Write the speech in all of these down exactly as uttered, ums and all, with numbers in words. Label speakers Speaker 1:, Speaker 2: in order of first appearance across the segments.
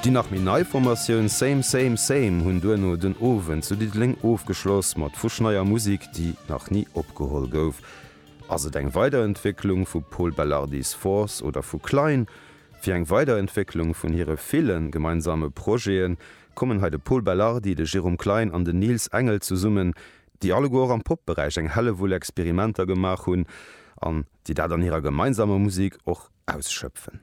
Speaker 1: Déi nach méi nei Formatioun Same Same Same hunn duerno den Owend zu Diddeleng ofgeschloss mat fuschneier Musek, déi nach ni opgeholl gouf. Ass et eng Weiderentwécklung vu Pol Belardi's Force oder vu Klein? Fir eng Weiderentwécklung vun hire ville gemeinsame Projete kommen hei de Pol Belardi, de Jérôme Klein an den Niels Engel zesummen, déi alleguer och am Pop-Beräich eng Hellewull Experimenter gemaach hunn an déi dat an hirer gemeinsamer Musek och ausschöpfen.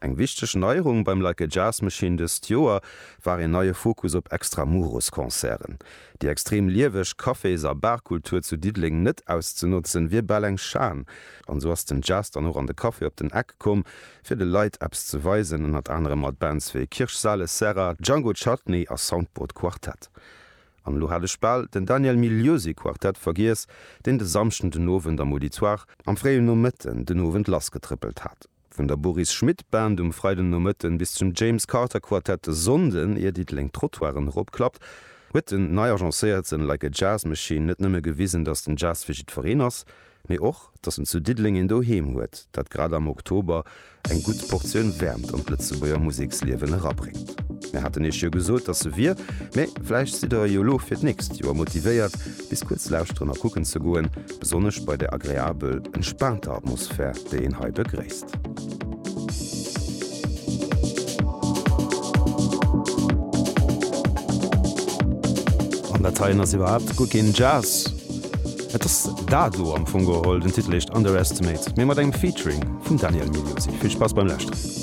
Speaker 1: Eng wichteg Neierung beim Like a Jazz Machine dëst Joer war een neie Fokus op Extramuros-Concerten. Déi extrem lieweg Cafés a Barkultur zu Diddeleng net auszenotzen, wier bal eng Schan. An esou ass den Jazz dann och an de Café op den Eck komm, fir de Leit eppes ze weisen, ënnert anerem mat Bands wéi Kirsch Sales Serra, Django Chutney a Soundboard Quartet. An elo hat ech bal den Daniel Migliosi Quartet vergiess, deen de Samschden den Owend am Auditoire am fréien Nomëtten den Owend lassgetrëppelt hat. Vun der Boris Schmidt Band um Freiden Nomëtten bis zum James Carter Quartet de Sonnden, ier Diddeleng d'Trottoiren eropklappt, huet den nei agencéierten Like a Jazz Machine net nëmme gewisen, dass den Jazz fir jiddwereen ass, mee och, dass en zu Diddeleng een Doheem huet, dat grad am Oktober eng gutt Portioun Wäermt an d'Lëtzebuerger Museksliewen erabréngt. Mir haten iech jo gesot, dass se wier, mee vläicht sidd der jo elo fir d'nächst Joer motivéiert, bis kuerz lauschteren a kucken ze goen, besonnesch bei der agreabel entspaanter Atmosphär, déi een hei begréisst. An dat heien ass iwwerhaapt guer keen Jazz. Et ass Dado am Fong geholl, den Titel heescht Underestimate, mee mat engem Featuring vum Daniel Migliosi. Vill Spaass beim Lauschteren.